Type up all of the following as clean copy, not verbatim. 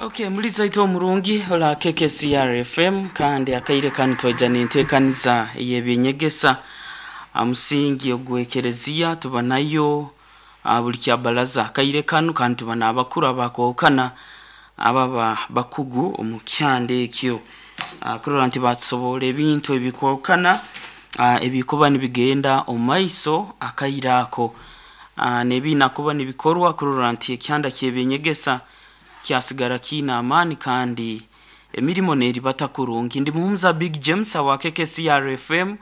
Okay, muliza itwe omurungi ola KKCR FM, kandi akaire kanu twaija n'enteekaniza ey'ebyenyegesa amusingi ogw'ekereziya. Tuba nayo buli kyabalaza akaire kanu, kandi tuba n'abakuru abakwahukana ababa bakugu omu kyanda ekyo, kurora nti batusoborra ebintu ebikwahukana ebikuba nibigenda omu maiso akaire ako, n'ebiina kuba nibikorwa kurora nti ekyanda ky'ebyenyegesa kyasigara kiine amaani kandi emirimo neribata kurungi. Ndi Muhumuza Big James wa KKCR FM,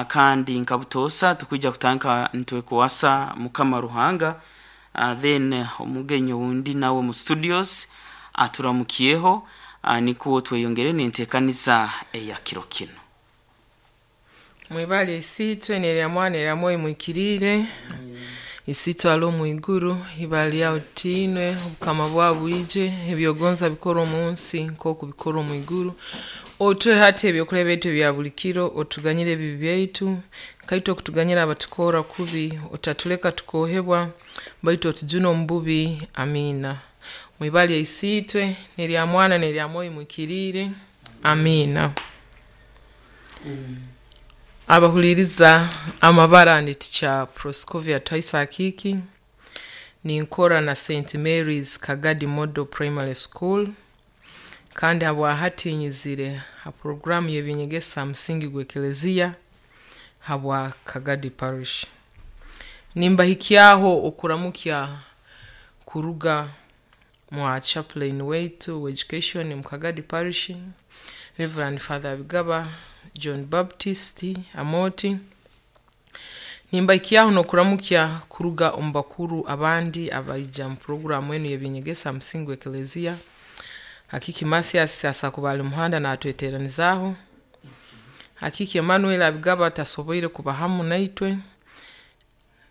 kandi nka butoosa tukwija kutandika nitwekwasa Mukama Ruhanga, then omugenyi owundi nawe mu studios aturamukyeho, nikwo tweyongere n'enteekaniza eya kiro kinu. Mwibale Isiitwe n'erya Mwana n'erya Mwoyo Muhikiriire. Isiitwe ali omu iguru, ibara lyawe litiinwe, obukama bwawe bwije, ebyogonza bikorwe omu nsi nk'oku bikorwa omu iguru. Otuhe hati ebyokulya byaitu ebya buli kiro, otuganyire ebibi byaitu, nkaitwe okutuganyira abatukorra kubi, otatuleka tukoohebwa, baitu otujune omu bubi. Amiina. Mwibale Isiitwe n'erya Mwana n'erya Mwoyo Muhikiriire. Amiina. Abahuliiriza, amabara ndi Teacher Proscovia Twaisa Akiiki, ninkora na St. Mary's Kagadi Model Primary School, kandi habwahati nyizire ha puroguraamu y'ebyenyegesa ha musingi gw'Ekereziya habwa Kagadi Parish. Nimbahikyaho okuramukya kuruga mwa chaplain waitu w'education mu Kagadi Parish, Reverend Father Bigaba John Baptist Amoti. Nimbahikyaho n'okuramukya kuruga omu bakuru abandi abaija mu puroguraamu enu y'ebyenyegesa ha musingi gw'Ekereziya. Hakiki Mathias asakuba ali muhanda naatweteeranizaaho. Hakiki Emmanuel Abigaba tasoboire kuba hamu naitwe,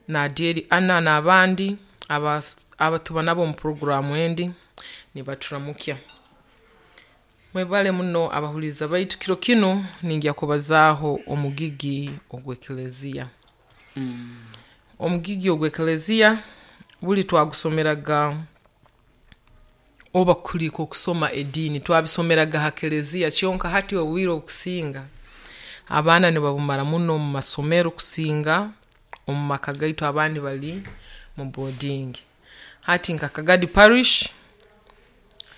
Nadieri Anna n'abandi abatuba nabo omu puroguraamu endi nibaturamukya. Mwebale muno abahuliiriza baitu, kiro kinu ningya kubazaaho omugigi ogw'Ekereziya. Omugigi ogw'Ekereziya buli twagusomeraga oba kuli nk'okusoma ediini, twabisomeraga ha kereziya kyonka hati obwire obukusinga abaana nibabumara muno omu masomero kusinga omu maka gaitu, abandi bali mu boarding. Hati nka Kagadi Parish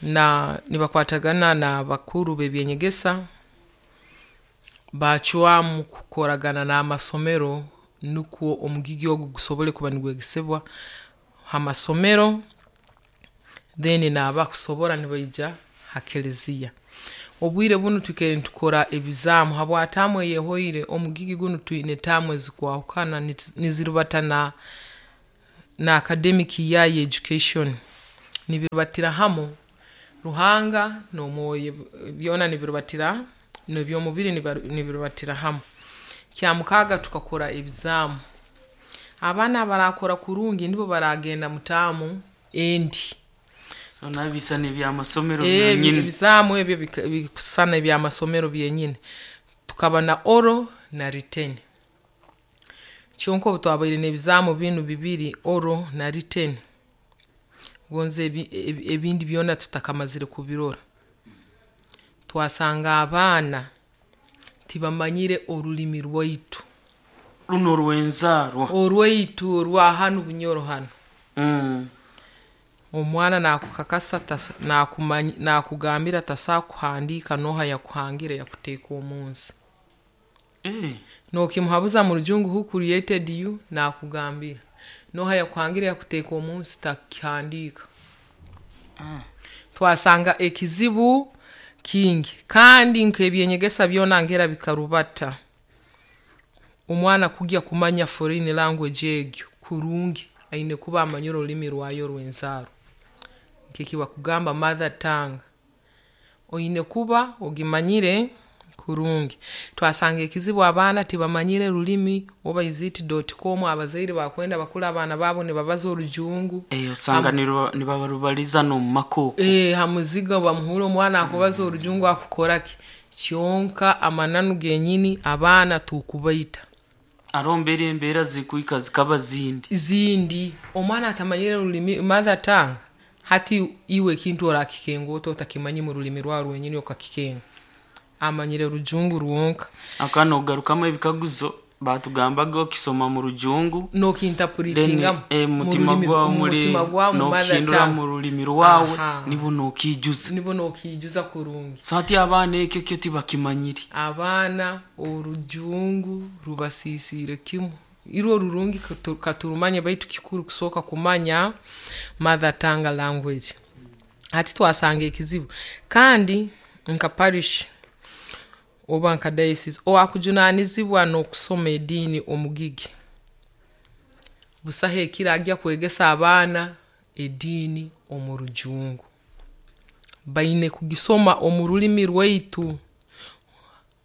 na nibakwatagana n'abakuru b'ebyenyegesa baacwamu kukoragana n'amasomero nukwo omugigi ogu gusobole kuba nigwegesebwa ha masomero, then n'abakusobora nibaija ha kereziya. Obwire bunu twikaire nitukora ebizaamu habwa taamu eyehoire, omugigi gunu twine taamu ezikwahukana nizirubata na academic year ya education, nibirubatira hamu Ruhanga n'omwoyo byona nibirubatira, n'eby'omubiri nibirubatira hamu. Kyamukaaga tukakora ebizaamu, abaana abaraakora kurungi nibo baraagenda mu taamu endi. So nabisana eby'amasomero byonyini. Ebizaamu ebyo bikusisana eby'amasomero byenyini. Tukaba na oral na written. Kyonka obu twabaire n'ebizaamu binu bibiri, oral na written, gonze ebindi byona tutakamazire kubirora, twasanga abaana tibamanyire orulimi rwaitu. Runu orw'enzaarwa. Orwaitu orwa hanu Bunyoro hanu. Omwana naakukakasa naakugambira tasobola kuhandiika nooha yakuhangire yakuteeka omunsi. Nookimuhabuza mu Rujungu, "Who created you?" Naakugambira. Nooha yakuhangire yakuteeka omunsi takukihandiika. Twasanga ekizibu kingi, kandi nk'ebyenyegesa byona ngera bikarubata. Omwana kugya kumanya foreign language egyo kurungi, aine kuba amanyire orulimi rwayo orw'enzaarwa, nk'eki bakugamba mother tongue, oine kuba ogimanyire kurungi. Twasanga ekizibu abaana tibamanyire rulimi, oba is it .com, abazaire bakwenda bakuule abaana baabo nibabaza Orujungu. Osanga nibabarubaliza n'omu maka oku. Ha muziga bamuhuura omwana akubaza Orujungu akukora ki, kyonka amananu genyini abaana tukubaita. Haroho mbere embeera zikuhika zikaba zindi. Zindi. Omwana atamanyire rulimi, mother tongue, Hati iwe ekintu orakikenga ota otakimanyi mu rulimi rwawe rwenyini okakikenga? Amanyire rujungu rwonka. Aka nogarukamu ebikaguzo batugambaga okisoma mu rujungu, then nokinterpretingamu mutima gwawe muri mumutima gwawe mu mother nokihindura tongue. mu rulimi rwawe. Aha. Nibo nokijuza. Nibo nokiijuza kurungi. So hati abaana ekyo kyo tibakimanyire. Abaana orujungu rubasiisiire kimu. Irwo rurungi katurumanye, baitu kikuru kusooka kumanya mother tongue language. Hati twasanga ekizibu, kandi nka parish oba nka diocese owakujunaanizibwa n'okusoma ediini omugigi, busaho ekiro agya kwegesa abaana ediini omu rujungu. Baine kugisoma omu rulimi rwaitu,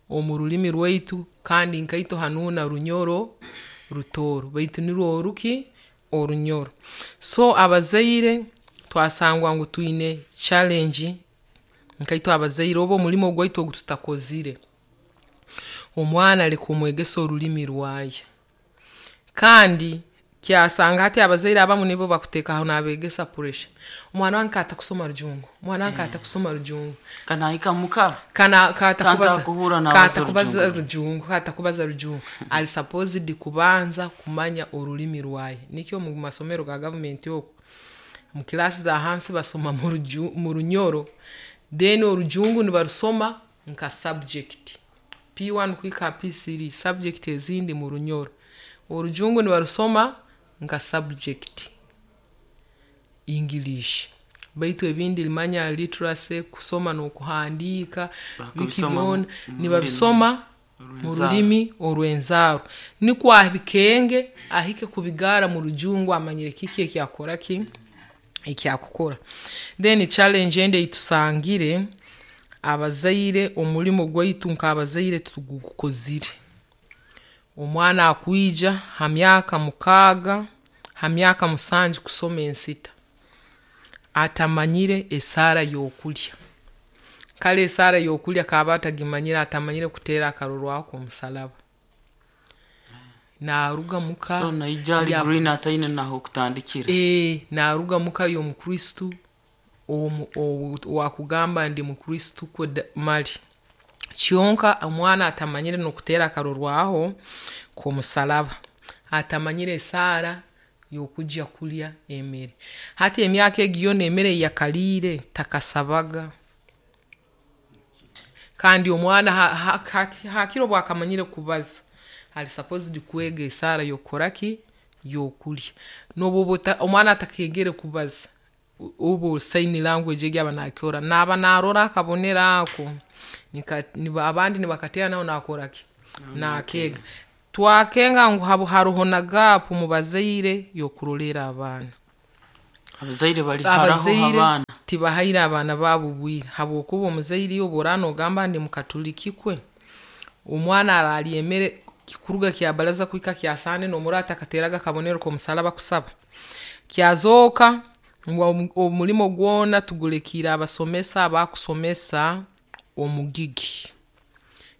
omu rulimi rwaitu. Kandi nkaitwe hanuuna Runyoro Rutooro, baitu nirwo oruki? Orunyoro. So abazaire twasangwa ngu twine challenge nkaitwe abazaire, oba omulimo gwaitu ogu tutakozire. Omwana leka omwegese orulimi rwaye. Kandi kyasanga hati abazaire abamu nibo bakuteekaho n'abeegesa pressure: omwana wange kaatakusoma rujungu, omwana wange kaatakusoma rujungu. Kanahika muka kana katakubaza kantakuhurra nabaza. Katakubaza rujungu. Rujungu, katakubaza rujungu. Ali supposed kubanza kumanya orulimi rwaye. Nikyo mu masomero ga gavumenti oku mu kilaasi za hansi basoma mu runyoro, then orujungu nibarusoma nka subject P1 kuhika P3, subject ezindi mu runyoro, orujungu nibarusoma nka subject English. Baitu ebindi limanya literacy, kusoma n'okuhandiika, biki Bakubisoma byona mu nibabisoma mu rulimi rulimi orw'enzaarwa, nikwo abikenge ahike kubigaara mu rujungu amanyire kiki ekyakukora ki ekyakukora. Then challenge endi ei tusangire, abazaire omulimo gwaitu nk'abazaire titugukozire. Omwana akwija ha myaka 6, ha myaka 7 kusoma ensita, atamanyire esaara y'okulya. Kale esaara y'okulya kaaba atagimanyire, atamanyire kuteera akarorwaho k'omusaraba, naaruga muka. So naija ali green, ataine nahokutandikira. Naaruga muka y'omukristu owakugamba ndi mukristu kwe mali, kyonka omwana atamanyire n'okuteera akarorwaho k'omusaraba, atamanyire esaara y'okugya kulya emere. Hati emyaka egi yoona emere ei yakaliire takasabaga. Kandi omwana hakire obu akamanyire kubaza, ali supposed kwega esaara y'okukora ki? Y'okulya. Noobu oba omwana atakeegere kubaza, obu sign language egi aba naakikora, naaba naarora akabonero ako, abandi nibakateera nauwe naakora ki? Naakeega. Twakenga ngu haroho na gap mu bazaire y'okurolerra abaana. Abazaire bali haraho. Abazaire abaana tibahaire abaana baabo obwire, habwokuba omuzaire iwe obu oraaba noogamba ndi mukatuliki kwe, omwana araalya emere kuruga kyabaraza kuhika kyasande noomurora atakateeraga akabonero k'omusaraba kusaba? Kyazooka ngu omulimo gwona tugulekiire abasomesa abakusomesa omugigi,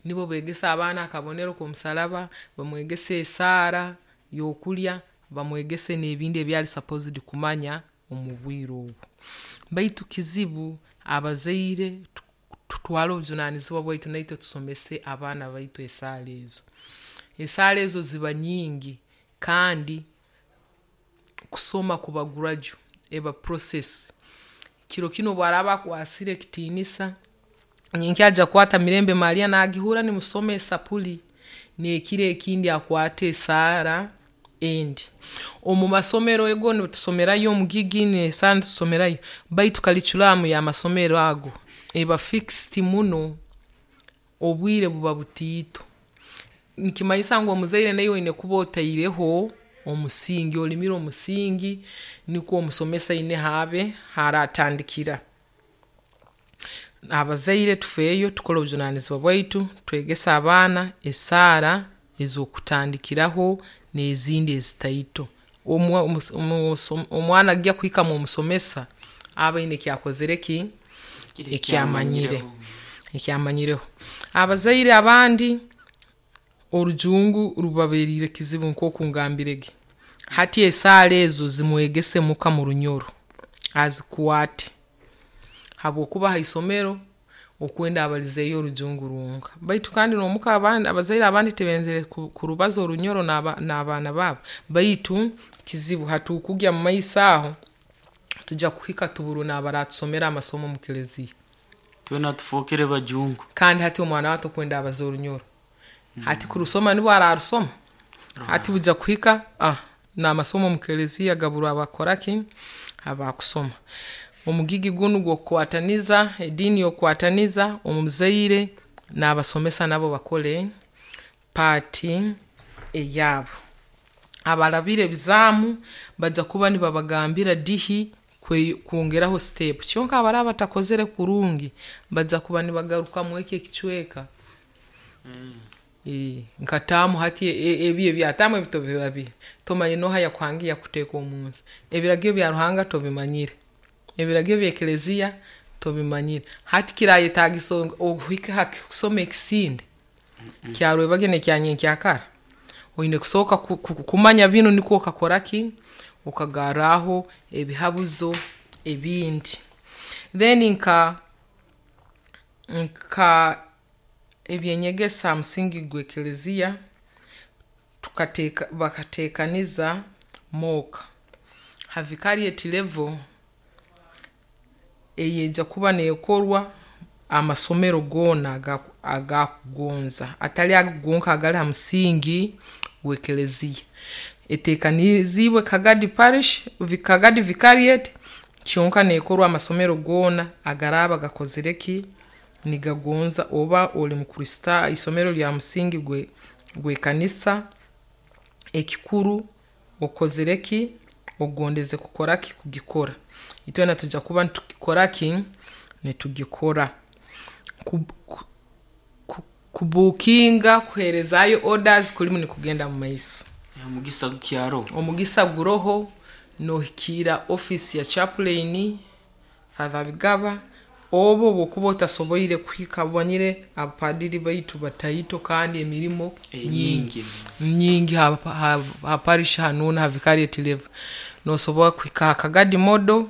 nibo beegesa abaana akabonero k'omusaraba, bamwegesa esaara y'okulya, bamwegese n'ebindi ebi ali supposed kumanya omu bwire obu. Baitu kizibu abazaire tutwale obujunaanizibwa bwaitu, naitwe tusomese abaana baitu esaara ezo. Esaara ezo ziba nyingi, kandi kusoma kuba gradual, eba process. Kiro kinu obu araaba akwasire ekitiinisa, nyenkya aija kukwata Mirembe Maria naagihurra nimusoma esapuli, n'ekiro ekindi akwate esaara endi. Omu masomero ego nitusomerayo omugigi n'esaara nituzisomerayo, baitu curriculum y'amasomero ago, eba fixed muno, obwire buba butiito. Nikimanyisa ngu omuzaire naiwe oine kuba otaireho omusingi, olimire omusingi, nukwo omusomesa aine habe haraatandikira. Abazaire tufeeyo tukole obujunaanizibwa bwaitu, twegese abaana esaara ez'okutandikiraho n'ezindi ezitaito. Omwana agya kuhika mw'omusomesa, abe aine eki akozire ki? Eki amanyire, eki amanyireho. Abazaire abandi, orujungu rubaberiire kizibu nkooku ngambirege. Hati esaara ezo zimwegese muka mu Runyoro. Azikwate habwokuba ha isomero okwenda abalizeeyo orujungu rwonka, baitu kandi n'omuka abandi abazaire abandi tibenzere kurubaza orunyoro n'abaana baabo, baitu kizibu hatukugya mumaiso aho tujya kuhika tuburwe n'abaratusomera amasomo mu keleziya. Twena tufookere bajungu. Kandi hati omwana wawe tokwenda abaze orunyoro, hati kurusoma nibwo ararusoma, hati bujya kuhika n'amasomo mu keleziya gaburwe abakukora ki, abakusoma. Omugigi gunu gw'okukwataniza, ediini y'okukwataniza omuzaire n'abasomesa nabo bakole part eyaabo. Abarabire ebizaamu bajya kuba nibabagambira dihi kwongeraho step, kyonka abaraaba batakozere kurungi bajya kuba nibagaruka mweki ekicweka. Nka taamu hati ebi ebya taamu ebi tobirabire, tomanyire nooha yakuhangire yakuteeka omunsi, ebiragiro bya Ruhanga tobimanyire, ebiragiro by'ekeleziya tobimanyire, hati kirayetaagisa ohike ha kusoma ekisinde kya rwebagyo n'ekya nyenkyakara, oine kusooka kumanya binu nukwo okakora ki, okagarraaho ebihabuzo ebindi. Then nka eby'enyegesa ha musingi gw'ekeleziya, bakateekaniza mock, ha vicariate level, eyeija kuba neekorwa amasomero goona agakugonza, hatali ago gonka agali ha musingi gw'ekeleziya. Eteekaniziibwe Kagadi parish, Kagadi vicariate, kyonka neekorwa amasomero goona agaraaba gakozire ki, nigagonza oba oli mukristaayo, isomero lya musingi gw'ekanisa, ekikuru okozire ki, ogondeze kukora ki, kugikora. Itwena nitwija kuba nitukikora ki, nitugikora. Kubuukinga kuheerezaayo orders kurimu nikugenda mumaiso. Omugisa gukyaroho. Omugisa guroho, noohikiira ofiisi ya chaplain, Father Bigaba, obu obu okuba otasoboire kuhika, omanyire abapaadiri baitu bataito kandi emirimo nyingi, Nyingi. Nyingi ha parish hanu ha vicariate level. Noosobora kuhika ha Kagadi model,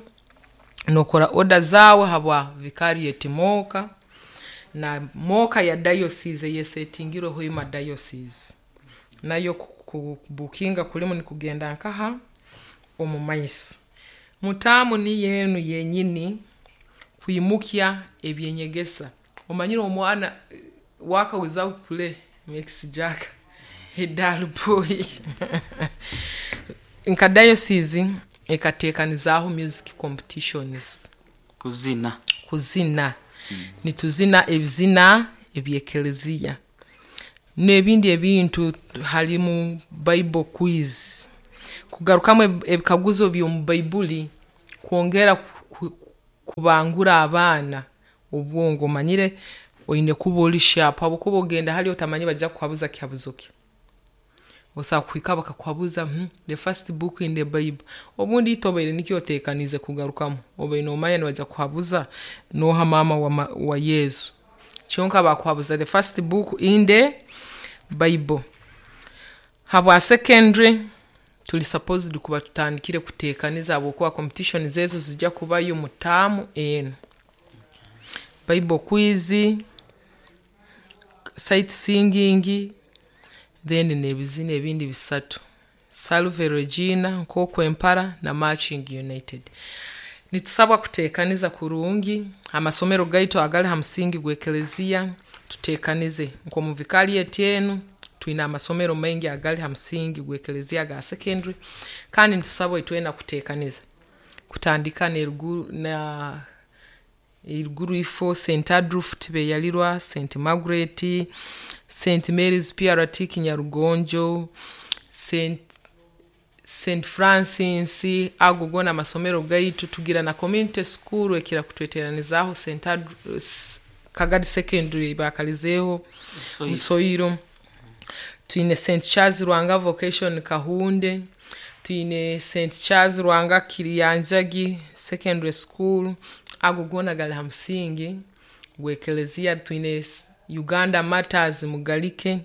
nookora order zaawe habwa vicariate mock, na mock ya diocese eyesetingirwe Hoima diocese, nayo kubuukinga kurimu nikugenda nkaha, omumaiso. Mu term niyo enu yenyini, kwimukya eby'enyegesa, omanyire omwana, work without play makes Jack a dull boy. Nka diocese ekateekanizaaho music competitions. Kuzina. Kuzina. Nituzina ebizina eby'ekeleziya, n'ebindi ebintu halimu bible quiz, kugarukamu ebikaguzo by'omu baiburi, kwongera kubangura abaana obwongo, omanyire oine kuba oli sharp habwokuba ogenda hali otamanyire nibaija kukuhabuza kikaguzo ki. Osobola kuhikayo bakakuhabuza the first book in the bible, obundi itwe obaire nikyo oteekaniize kugarukamu, obaire noomanya nibaija kukuhabuza nooha maama wa Yesu, kyonka baakuhabuza the first book in the bible. Habwa secondary, tuli supposed kuba tutandikire kuteekaniza habwokuba competitions ezi nizija kubayo mu term enu. Bible quiz, sight singing, then n'ebizina ebindi bisatu, Salve Regina, Nkokwempara na marching united. Nitusabwa kuteekaniza kurungi amasomero gaitu agali ha musingi gw'ekeleziya, tuteekanize nk'omu vicariate enu, twina amasomero maingi agali ha musingi gw'ekeleziya aga secondary, kandi nitusabwa itwena kuteekaniza, kutandika na eruguru ifo St. Adolf Tibeyalirwa, St. Margaret, St. Mary's PRT Kinyarugonjo, St. Francis, ago goona amasomero gaitu, tugira na community school ekira kutweteeranizaaho St. Kagadi secondary ei baakalizeeho, Musoiro, twine St. Charles Lwanga vocation Kahunde, twine St. Charles Lwanga Kiryanjagi secondary school, ago goona gali ha musingi gw'ekeleziya, twine Uganda Martyrs Mugalike,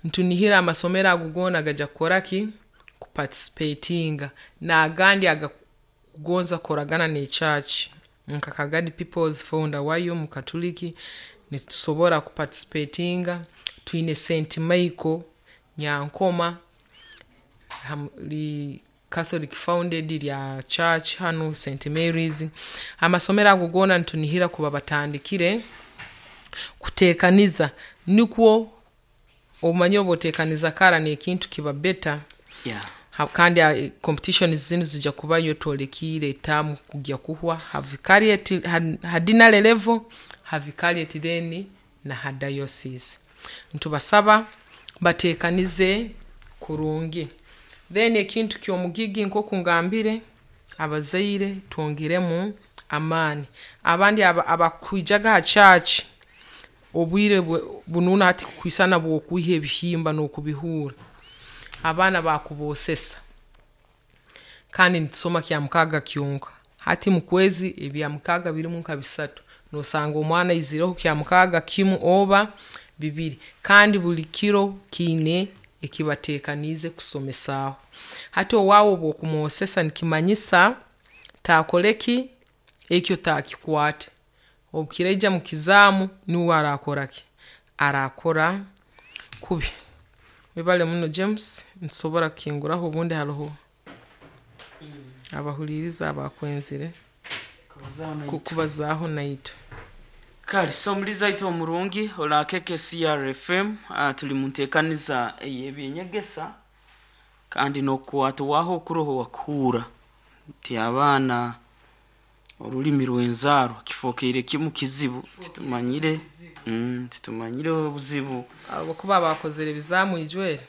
nitunihira amasomero ago goona gaija kukora ki, kuparticipatinga, n'agandi. Okugonza kukoragana n'ekyaki nka Kagadi Peoples founder wayo mukatuliki, nitusobora kuparticipatinga. Twine St Michael Nyankoma, li Catholic founded lya church hanu St Mary's. Amasomero ago goona nitunihira kuba batandikire kuteekaniza, nukwo omanyire obu oteekaniza kara n'ekintu kiba better. Kandi competitions zinu zijya kubayo twolekiire etaamu kugya kuhwa ha vicariate, ha deanery level, ha vicariate, then na ha diocese. Ntubasaba bateekanize kurungi. Then ekintu ky'omugigi, nk'oku ngambire, abazaire twongeremu amaani. Abandi abakwijaga ha church obwire bunu hati kwisana bwokwiha ebihimba n'okubihura, abaana bakuboosesa, kandi nitusoma Kyamukaaga kyonka. Hati mukwezi ebyamukaaga birimu nka bisatu, noosanga omwana aizireho Kyamukaaga kimu oba bibiri, kandi buli kiro kiine ekibateekaniize kusomesaaho. Hati owaawe obu okumwosesa, nikimanyisa taakole ki, ekyo taakikwate. Obu kiraija mukizaamu, nuwe araakora ki, araakora kubi. Webale muno James, nitusobora kukinguraho obundi haroho abahuliiriza abakwenzire kubazaaho naitwe. Kale, so omulizi aitu omurungi ora KKCR FM, tuli mu nteekaniza ey'ebyenyegesa, kandi n'okukwatwaho okuroho wakuhuura nti abaana orulimi rw'enzaarwa kifokeire kimu kizibu. Titumanyire, titumanyire obuzibu. Habwokuba abakozere ebizaamu ijwere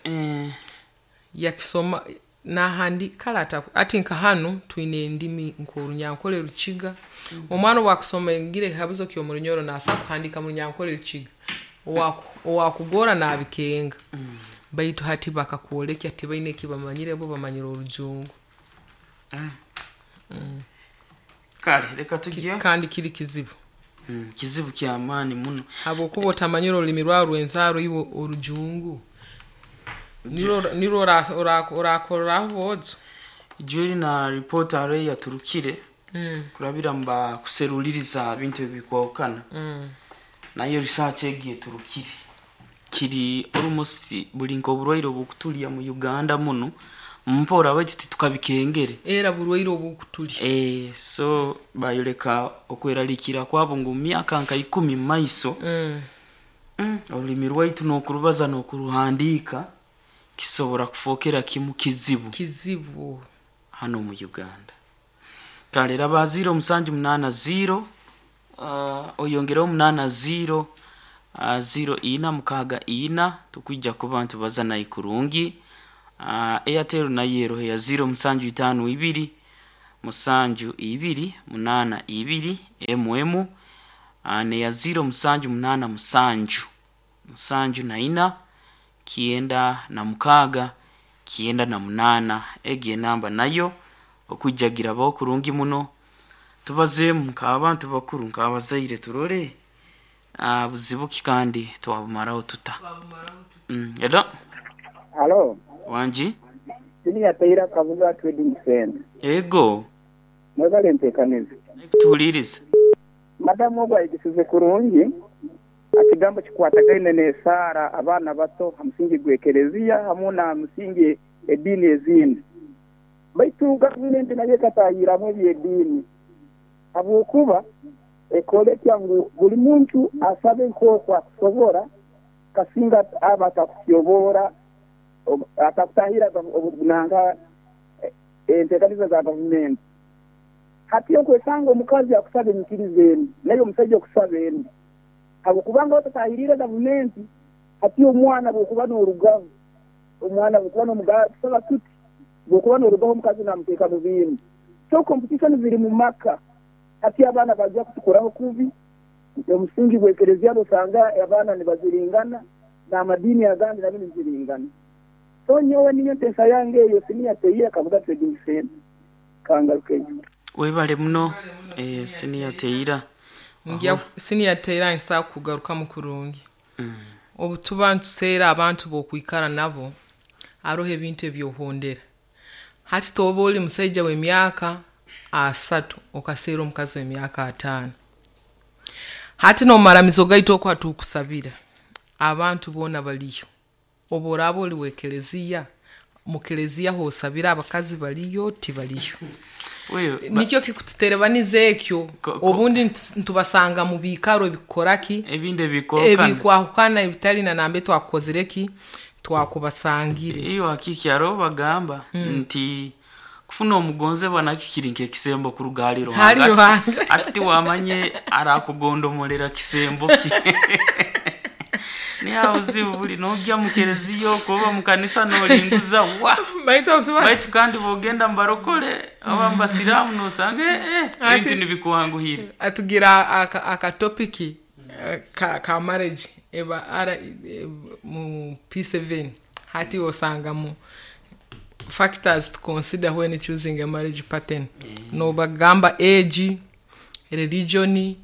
yakisoma nahandi kale ati nka hanu twine endimi nk'Orunyankole, Rukiga. Omwana obu akusoma engire ekikaguzo ky'omu Runyoro, naasobora kuhandiika mu Runyankole Rukiga, owakugora naabikenga. Baitu hati bakakwolekya tibaine eki bamanyire, bo bamanyire Orujungu. Kale reka tugye. Kandi kiri kizibu. Kizibu ky'amaani muno. Habwokuba otamanyire orulimi rwawe rw'enzaaro, iwe Orujungu nirwo orakorraho boojo. Ijweri na ripoota haro eyaturukire kurabira mu bakuseruliriza bintu ebikwahukana, nayo research egi eturukire kiri almost buli nk'oburwaire obukutulya mu Uganda muno mpora, baitu titukabikengere. Era burwaire obukutulya. So bayoleka okweraliikirra kwabo ngu mu myaka nka 10 mu maiso, orulimi rwaitu n'okurubaza n'okuruhandiika kisobora kufookera kimu kizibu Kizibu. hanu omu Uganda. Kale raba 0780, oyongereho 80, 0464, tukwija kuba nitubaza naye kurungi. Airtel nayo eroho ya 0752 72 82 mm, neya 0787 74 96 98. Egi enamba nayo okwijagirabaho kurungi muno, tubazeemu nk'abantu bakuru, nk'abazaire, turole buzibu ki kandi twabumaraho tuta. Hello. Halo. Wangi. Senior Taylor Kabuga Trading Center. Ego. Mwebale enteekaniza. Tuhuliiriza. Madamu ogu ayegesize kurungi ekigambo kikwatagaine n'esaara abaana bato ha musingi gw'ekereziya hamu na musingi ediini ezindi. Baitu gavumenti nayo ekatahirramu eby'ediini habwokuba ekolekya ngu buli muntu asabe nk'oku akusobora, kasinga aba atakutyoboora, atakutahirra nanka enteekaniza za gavumenti. Hati okwesanga omukazi akusaba enyikiriza endi, naye omusaija okusaba endi, habwokubanga otatahiriire gavumenti. Hati omwana bwokuba n'orugaho, omwana bwokuba n'omugasaba tuti, bwokuba n'orugaho omukazi namuteeka mu bindi. So competition ziri mu maka. Hati abaana bajja kutukoraho kubi. Omusingi gw'ekereziya osanga abaana nibaziringana, n'amadiini agandi nabyo nibiziringana. So nyowe niyo nteesa yange eyo. Senior Taylor Kabuga Trading Center, kangarukeyo. Webale muno, Senior Taylor. Ngya Senior Taylor, nsobola kugarukamu kurungi. Obu tuba ntuseera abantu b'okwikara nabo, haroho ebintu ebyohondera. Hati toba oli musaija w'emyaka 30 okaseera omukazi w'emyaka 50. Hati n'omumaramizo gaitu oku hatukusabira abantu boona baliyo. Obu oraaba oli w'ekeleziya, mu keleziya hoosabira abakazi baliyo tibaliyo. Nikyo kikututerebaniza ekyo. Obundi nitubasanga mu biikaro ebikukora ki, ebindi ebikwahukana, ebikwahukana ebitali na nambe twakukozire ki, twakubasangire. Iyo hakiki hariho bagamba nti kufuna omugonzebwa nakyo kiri nk'ekisembo kuruga hali Hali Ruhanga. Ruhanga. Ati tiwamanye arakugondomolera kisembo ki. Niho obuzibu buli, nogya mu kereziya okwo oba mu kanisa nolinguza wa. Baitu Baitu kandi bwogenda mubarokole oba mubasiramu nosanga ebintu nibikwanguhire. Atugira akatopiki ka marriage eba ara mu P7 hati osanga mu factors to consider when choosing a marriage pattern. Nobagamba age, religion,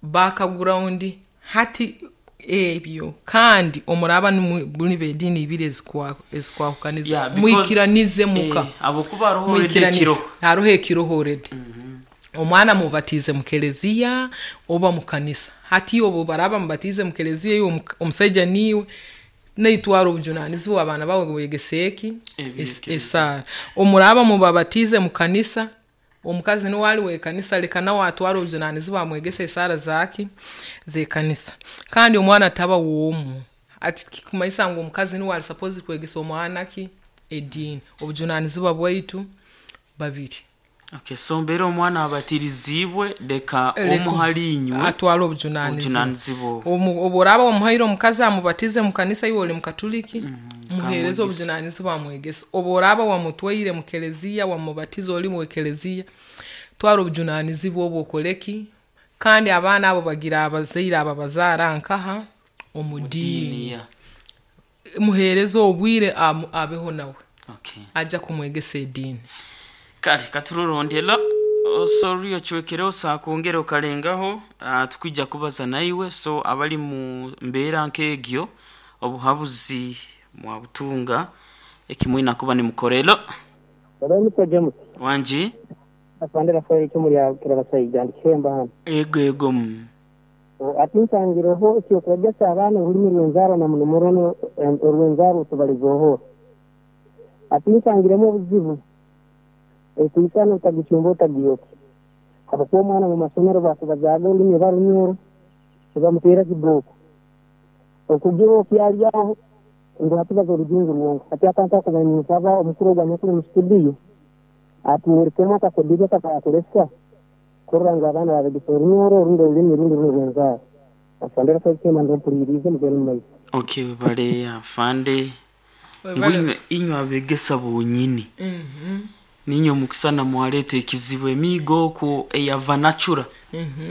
background, hati ebyo. Kandi omuraba nimwe b'ediini ibiri ezikwahukaniza, Yeah, because, mwikiranize muka. Habwokuba haroho already Mwikiranize. ekiroho. Haroho ekiroho already. Omwana mubatize mu keleziya oba mu kanisa. Hati obu baraba mubatize mu keleziya, iwe omusaija niiwe naitwara obujunanizibwa abaana bawe wegese eki Eby'ekereziya. Esaara. Omuraba mubabatize mu kanisa, omukazi niwe ali w'ekanisa, leka nawe atware obujunanizibwa amwegese esaara zaki z'ekanisa. Kandi omwana taba w'omu. Ati kikumanyisa ngu omukazi niwe ali supposed kwegesa omwana ki ediini. Obujunanizibwa bwaitu babiri. Okay, so mbere omwana abatirizibwe leka Leka omu hali inywe atwale obujunanizibwa. Obujunanizibwa obwo. Obu oraaba omuhaire omukazi amubatize mu kanisa, iwe oli mukatuliki, muheereze kamwegese. obujunanizibwa amwegese. Obu oraaba wamutwaire mu keleziya wamubatiza oli mu keleziya, twara obujunanizibwa obwo okoleki. Kandi abaana abo bagira abazaire ababazaara nkaha omu diini. Diini. Muheereze obwire abeho nawe. Okay. Ajja kumwegesa ediini. Kale katurorondela sorry ocwekereho saakongera okalengaho, tukwija kubaza naiwe. So abali mu mbeera nk'egyo obuhabuzi mwabutunga ekimwina kuba nimukorelo. Hello, Mr. James. Wangi. Afande Rafael Kimuli Kirabasaija ndi Kihemba hano. Ego ego. Ati nsangireho ekyokwegesa abaana orulimi rw'enzaarwa na muno muno orw'enzaarwa tubalize. Ati nsangiremu obuzibu ekwikana otagicumba otagiyokya. Habwokuba omwana mu masomero bakubazaaga orulimi oba Runyoro nibamuteera kibooko. Okugira okyaryaho ngu hati baza orujungu rwonka. Hati akantu ako ninsaba omukuru ogu anyakuli mu studio atworekemu akakodyo akakakoleswa kurora ngu abaana babegesa Orunyoro orundi orulimi rundi runu rw'enzaarwa. Afande Rafael Kihemba ndompuliriize mugende mu maiso. Okay, bale afande ngu inywe abegesa bonyini ninywe mukisana mwaleeta ekizibu emiigo okwo eya vanacura.